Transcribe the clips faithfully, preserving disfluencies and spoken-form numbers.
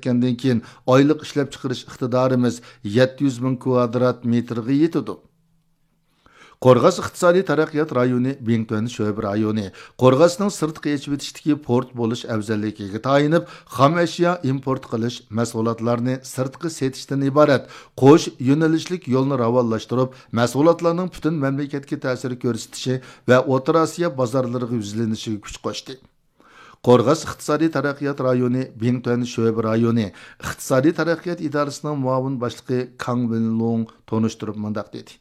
پۈتكەندىن كېيىن، ئايلىق ئىشلەپچىقىرىش ئىقتىدارىمىز يەتتە يۈز مىڭ كۋادرات مېتىرغا يېتىدۇ. قورغاس ئىقتىسادىي تەرەققىيات رايونى بىڭتۈەن شۆبە رايونى قورغاسنىڭ سىرتقا ئېچىۋېتىشتىكى پورت بولۇش ئەۋزەللىكىگە تايىنىپ، خام ئەشيا ئىمپورت قىلىش، مەھسۇلاتلارنى سىرتقا سېتىشتىن ئىبارەت قوش يۆنىلىشلىك يولنى راۋانلاشتۇرۇپ، مەھسۇلاتلارنىڭ پۈتۈن مەملىكەتكە تەسىر كۆرسىتىشى ۋە ئوتتۇرا ئاسىيا بازارلىرىغا يۈزلىنىشىگە كۈچ قوشتى. قورغاس ئىقتىسادىي تەرەققىيات رايونى بىڭتۈەن شۆبە رايونى ئىقتىسادىي تەرەققىيات ئىدارىسىنىڭ مۇئاۋىن باشلىقى كاڭ ۋېنلۇڭ تونۇشتۇرۇپ مۇنداق دېدى: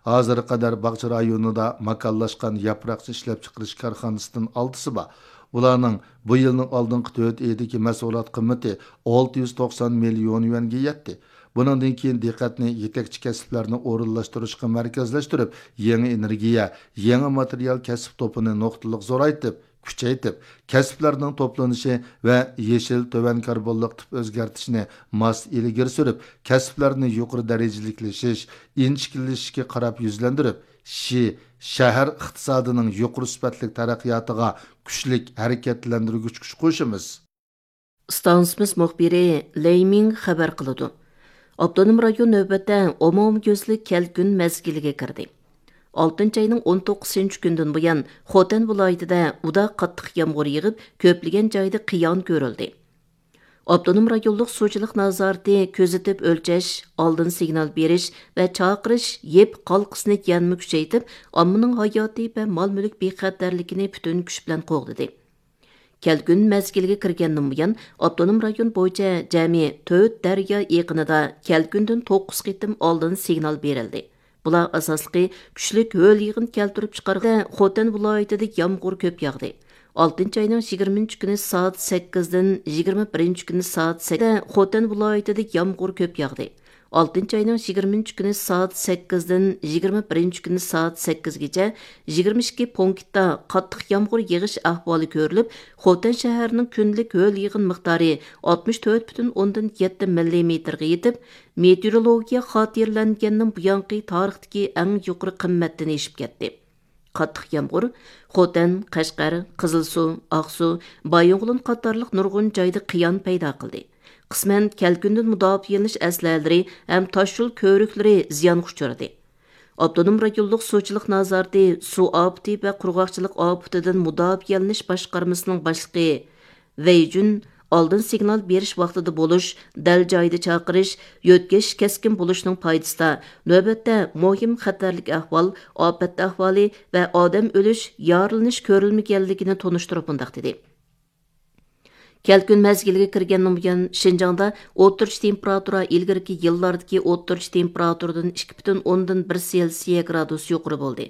ھازىرغا قەدەر باغچە رايونىدا ماكانلاشقان ياپراقچە ئىشلەپچىقىرىش كارخانىسىدىن ئالتىسى بار. بۇلارنىڭ بۇ يىلنىڭ ئالدىنقى تۆت ئېيىدىكى مەھسۇلات قىممىتى ئالتە يۈز توقسان مىليون يۈەنگە يەتتى. بۇنىڭدىن كېيىن دىققەتنى يېتەكچى كەسىپلەرنى ئورۇنلاشتۇرۇشقا مەركەزلەشتۈرۈپ، يېڭى ئېنېرگىيە، يېڭى ماتېرىيال كەسىپ توپىنى نۇقتىلىق زورايتىپ، كۈچەيتىپ، كەسىپلەرنىڭ توپلىنىشى ۋە يېشىل، تۆۋەن كاربونلۇق تىپ ئۆزگەرتىشنى ماس ئىلگىرى سۈرۈپ، كەسىپلەرنى يۇقىرى دەرىجىلىكلىشىش، ئىنچىكىلىشىشكە قاراپ يۈزلەندۈرۈپ، شى، شەھەر ئىقتىسادىنىڭ يۇقىرى سۈپەتلىك تەرەققىياتىغا كۈچلۈك ھەرىكەتلەندۈرگۈچ كۈچ قوشىمىز. ئىستانسىمىز مۇخبىرى لېي مىڭ خەۋەر قىلىدۇ. ئاپتونوم رايون نۆۋەتتە ئومۇميۈزلۈك كەلكۈن مەزگىلىگە كىردى. ئالتىنچى ئاينىڭ ئون توققۇزىنچى كۈنىدىن بۇيان خوتەن ۋىلايىتىدە ئۇدا قاتتىق يامغۇر يېغىپ، كۆپلىگەن جايدا قىيان كۆرۈلدى. ئاپتونوم رايونلۇق سۇچىلىق نازارىتى كۆزىتىپ ئۆلچەش، ئالدىن سىگنال بېرىش ۋە چاقىرىش يىپ ھالقىسىنى يەنىمۇ كۈچەيتىپ، ئاممىنىڭ ھاياتى ۋە مال-مۈلۈك بىخەتەرلىكىنى پۈتۈن كۈچ بىلەن قوغدىدى. كەلكۈن مەزگىلىگە كىرگەندىن بۇيان، ئاپتونوم رايون بويىچە جەمئىي تۆت دەريا ئېقىنىدا كەلكۈندىن توققۇز قېتىم ئالدىن سىگنال بېرىلدى. بۇلار ئاساسلىقى كۈچلۈك ھۆل يېغىن كەلتۈرۈپ چىقارغان خوتەن ۋىلايىتىدە يامغۇر كۆپ ياغدى. ئالتىنچى ئاينىڭ يىگىرمىنچى كۈنى سائەت سەككىزدىن يىگىرمە بىرىنچى كۈنى سائەت سەككىز خوتەن ۋىلايىتىدە يامغۇر كۆپ ياغدى. ئالتىنچى ئاينىڭ يىگىرمىنچى كۈنى سائەت سەككىزدىن يىگىرمە بىرىنچى كۈنى سائەت سەككىزگىچە يىگىرمە ئىككى پونكىتتا قاتتىق يامغۇر يېغىش ئەھۋالى كۆرۈلۈپ، خوتەن شەھىرىنىڭ كۈندىلىك ھۆل يېغىن مىقدارى ئاتمىش تۆت پۈتۈن ئوندىن يەتتە مىللىمېتىرغا يېتىپ، مېتېئورولوگىيە خاتىرىلەنگەندىن بۇيانقى تارىختىكى ئەڭ يۇقىرى قىممەتتىن ئېشىپ كەتتى. قاتتىق يامغۇر خوتەن، قەشقەر، قىزىلسۇ، ئاقسۇ، بايىنغولىن قاتارلىق نۇرغۇن جايدا قىيان پەيدا قىلدى. قىسمەن كەلكۈندىن مۇداپىئەلىنىش ئەسلىھەلىرى ھەم تاشيول كۆۋرۈكلىرى زىيانغا ئۇچرىدى. ئاپتونوم رايونلۇق سۇچىلىق نازارىتى سۇ ئاپىتى ۋە قۇرغاقچىلىق ئاپىتىدىن مۇداپىئەلىنىش باشقارمىسىنىڭ باشلىقى ۋېي جۈن ئالدىن سىگنال بېرىش ۋاقتىدا بولۇش، دەل جايىدا چاقىرىش، يۆتكەش كەسكىن بولۇشنىڭ پايدىسىدا نۆۋەتتە مۇھىم خەتەرلىك ئەھۋال، ئاپەت ئەھۋالى ۋە ئادەم ئۆلۈش، يارىلىنىش كۆرۈلمىگەنلىكىنى تونۇشتۇرۇپ مۇنداق دېدى: كەلكۈن مەزگىلىگە كىرگەندىن بۇيان، شىنجاڭدا ئوتتۇرىچە تېمپېراتۇرا ئىلگىرىكى يىللاردىكى ئوتتۇرىچە تېمپېراتۇرىدىن ئىككى پۈتۈن ئوندىن بىر سېلسىيە گرادۇس يۇقىرى بولدى.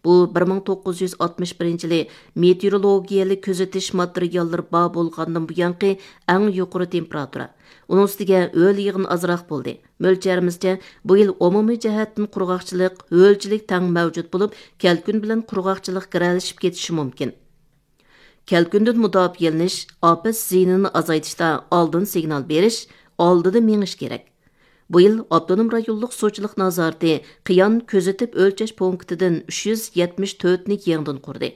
بۇ بىر مىڭ توققۇز يۈز ئاتمىش بىرىنچى يىلى مېتېئورولوگىيەلىك كۆزىتىش ماتېرىياللىرى بار بولغاندىن بۇيانقى ئەڭ يۇقىرى تېمپېراتۇرا. ئۇنىڭ ئۈستىگە ھۆل يېغىن ئازراق بولدى. مۆلچەرىمىزچە، بۇ يىل ئومۇمىي جەھەتتىن قۇرغاقچىلىق، ھۆلچىلىك تەڭ مەۋجۇت بولۇپ، كەلكۈن بىلەن قۇرغاقچىلىق گىرەلىشىپ كېتىشى مۇمكىن. كەلكۈندىن مۇداپىئەلىنىش، ئاپەت زىيىنىنى ئازايتىشتا ئالدىن سىگنال بېرىش، ئالدىدا مېڭىش كېرەك. بۇ يىل ئاپتونوم رايونلۇق سۇچىلىق نازارىتى قىيان كۆزىتىپ ئۆلچەش پونكىتىدىن ئۈچ يۈز يەتمىش تۆتنى يېڭىدىن قۇردى.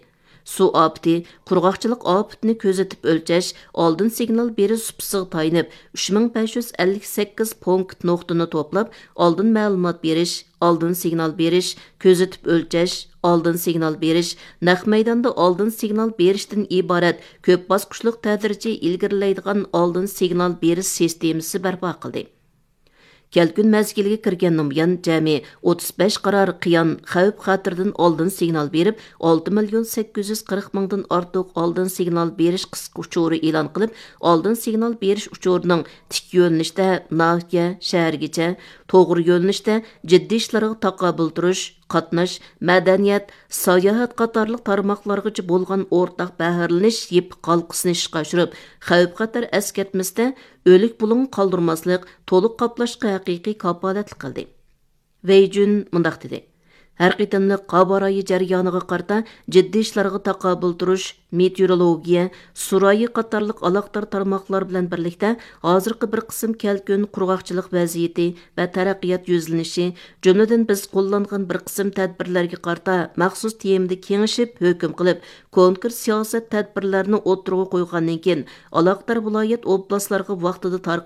سۇ ئاپىتى، قۇرغاقچىلىق ئاپىتىنى كۆزىتىپ ئۆلچەش، ئالدىن سىگنال بېرىش سۇپىسىغا تايىنىپ، ئۈچ مىڭ بەش يۈز ئەللىك سەككىز پونكىت نۇقتىنى توپلاپ، ئالدىن مەلۇمات بېرىش، ئالدىن سىگنال بېرىش، كۆزىتىپ ئۆلچەش، ئالدىن سىگنال بېرىش، نەق مەيداندا ئالدىن سىگنال بېرىشتىن ئىبارەت كۆپ باسقۇچلۇق تەدرىجىي ئىلگىرىلەيدىغان ئالدىن سىگنال بېرىش سىستېمىسى بەرپا قىلدى. كەلكۈن مەزگىلىگە كىرگەندىن بۇيان، جەمئىي ئوتتۇز بەش قارار قىيان خەۋپ خەتىرىدىن ئالدىن سىگنال بېرىپ، ئالتە مىليون سەككىز يۈز قىرىق مىڭدىن ئارتۇق ئالدىن سىگنال بېرىش قىسقا ئۇچۇرى ئېلان قىلىپ، ئالدىن سىگنال بېرىش ئۇچۇرىنىڭ تىك يۆنىلىشتە ناھىيە، شەھەرگىچە، توغرا يۆنىلىشتە جىددىي ئىشلارغا تاقابىل تۇرۇش، قاتناش، مەدەنىيەت، ساياھەت قاتارلىق تارماقلارغىچە بولغان ئورتاق بەھرىلىنىش يىپ ھالقىسىنى ئىشقا ئاشۇرۇپ، خەۋپ-خەتەر ئەسكەرتمىسىدە ئۆلۈك بۇلۇڭ قالدۇرماسلىق، تولۇق قاپلاشقا ھەقىقىي كاپالەتلىك قىلدى. ۋېي جۈن مۇنداق دېدى: ھەر قېتىملىق ھاۋا رايى جەريانىغا قارىتا جىددىي ئىشلارغا تاقابىل تۇرۇش، مېتېئورولوگىيە، سۇ رايى قاتارلىق ئالاقىدار تارماقلار بىلەن بىرلىكتە، ھازىرقى بىر قىسىم كەلكۈن، قۇرغاقچىلىق ۋەزىيىتى ۋە تەرەققىيات يۈزلىنىشى، جۈملىدىن بىز قوللانغان بىر قىسىم تەدبىرلەرگە قارىتا مەخسۇس تېمىدا كېڭىشىپ، ھۆكۈم قىلىپ، كونكرېت سىياسەت تەدبىرلەرنى ئوتتۇرىغا قويغاندىن كېيىن، ئالاقىدار ۋىلايەت ئوبلاستلارغا ۋاقتىدا تارقىتىپ